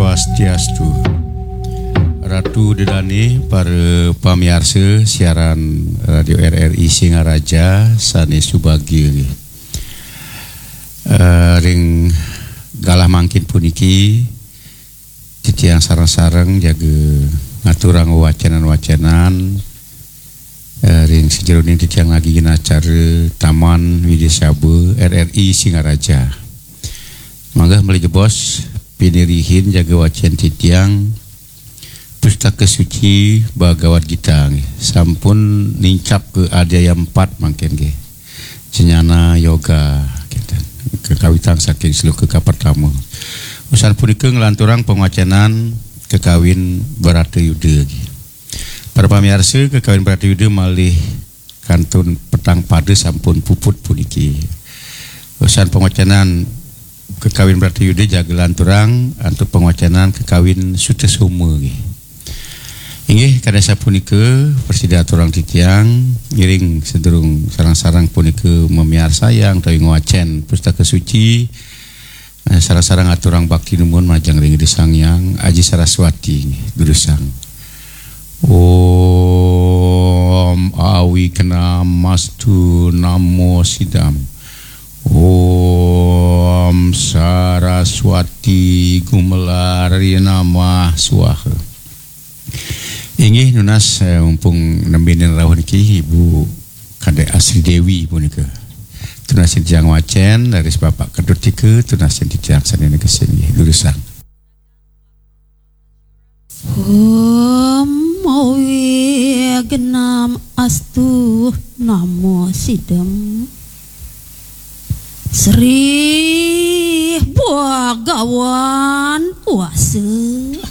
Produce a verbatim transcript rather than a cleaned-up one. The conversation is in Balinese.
Swastiastu. Ratu Dedane, para pamiarsa siaran Radio R R I Singaraja sane subagia nggih. Eh, ring galah mangkin puniki, titiang sareng-sareng jaga ngaturang wacenan-wacenan, eh, ring sajeroning titiang ngagigin acara Taman Widya Saba R R I Singaraja. Mangga malih jebos pinirihin jaga wacen titiang Pustaka Suci Bhagavad Gita nggih. Sampun nincap ka adhyaya empat mangkin nggih. Jnana Yoga, gitu. Kekawitang saking sloka kapertama. Usan punika nglanturang pangwacenan kekawin Bharatayuda nggih. Para pamiarsa, kekawin Bharatayuda malih kantun petang pada sampun puput puniki. Usan pangwacenan kekawin Bharatayuda jaga lanturang antuk pangwacenan kekawin Sutasoma nggih. Inggih, kadi sapunika prasida aturang titiang, ngiring sadurung sareng-sareng punika mamiarsayang utawi ngwacen Pustaka Suci, eh, sareng-sareng aturang bakti numun majeng ring Ida Sang Hyang Aji Saraswati nggih, durusang. Om Awignamastu Namo Sidam. Om Saraswati Gumelari Namah Swaha. Inggih nunas, eh, mumpung nembe rauh niki Ibu Kadek Asri Dewi punika. Tunasin titiang wacen, raris Bapak Kedut tika, tunasin titiang sane negesin nggih, durusang. Om Awignam Astu Namo Sidam. Sri Bhagawan Wasa.